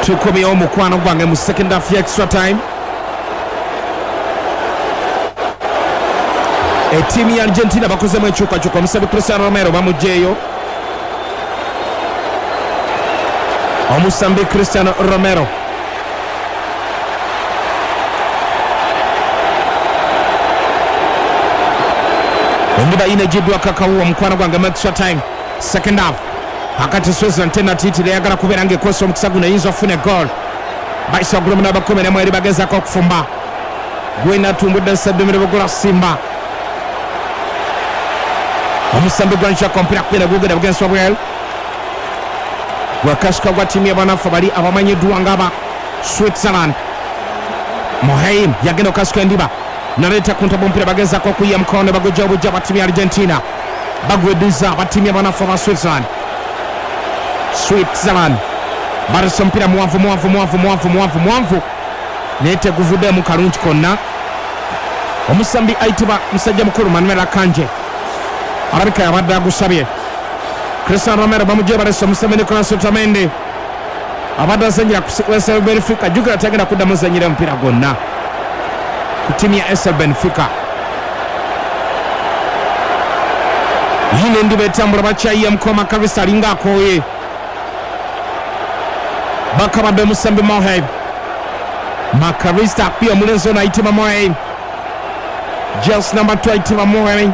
Tukomyewo mukwano gwange mu second half ya extra time. Ettiimu ya Argentina bakozemu enkyukakyuka, omusambi Cristiano Romero bamugyeyo. Omusambi Cristiano Romero endiba yino egiddwako akawuwo mukwano gwange mu extra time second half. Akati Switzerland tenatiitira eyagala kubeera ng'ekozesa omukisa guno eyinza okufuna egoal. Bayise waggulu mu namba kkumi n'emu eri bagezaako okufumba. Gwenatumbudde Sseddumiro Bugula Simba. Omusambi gwa Nshaka omupiira kugenda gugenda bugenzi wabweru. Gwakasuka gwa ttiimu y'abanafu bali abamanyiddwa ng'aba Switzerland. Moheim yagenda okukasuka endiba naleeta ku ntobo omupiira bagezaako okuyiya mukono ne bagujja obujja aba ttiimu ya Argentina. Bagweddiza aba ttiimu y'abanafu aba Switzerland. Switzerland balese omupiira muwanvu muwanvu muwanvu muwanvu muwanvu muwanvu naye teguvuddemu kalungi konna. Omusambi ayitibwa musajja mukulu Manuel Akanje alabika yabadde agusabye. Cristian Romero bamugye balese omusambi Nicolas Otamendi abadde azannyira ku SL Benfica. Jjukira tagenda kuddamu zannyira omupiira gwonna ku ttiimu ya SL Benfica. Yiino endiba etambula bakyayiye mukoma Karisa alinga akooye. Bakabadde omusambi Mohaib. Makarista akubye omulenzi ono ayitibwa Mohaib. Just number 2 ayitibwa Mohaib.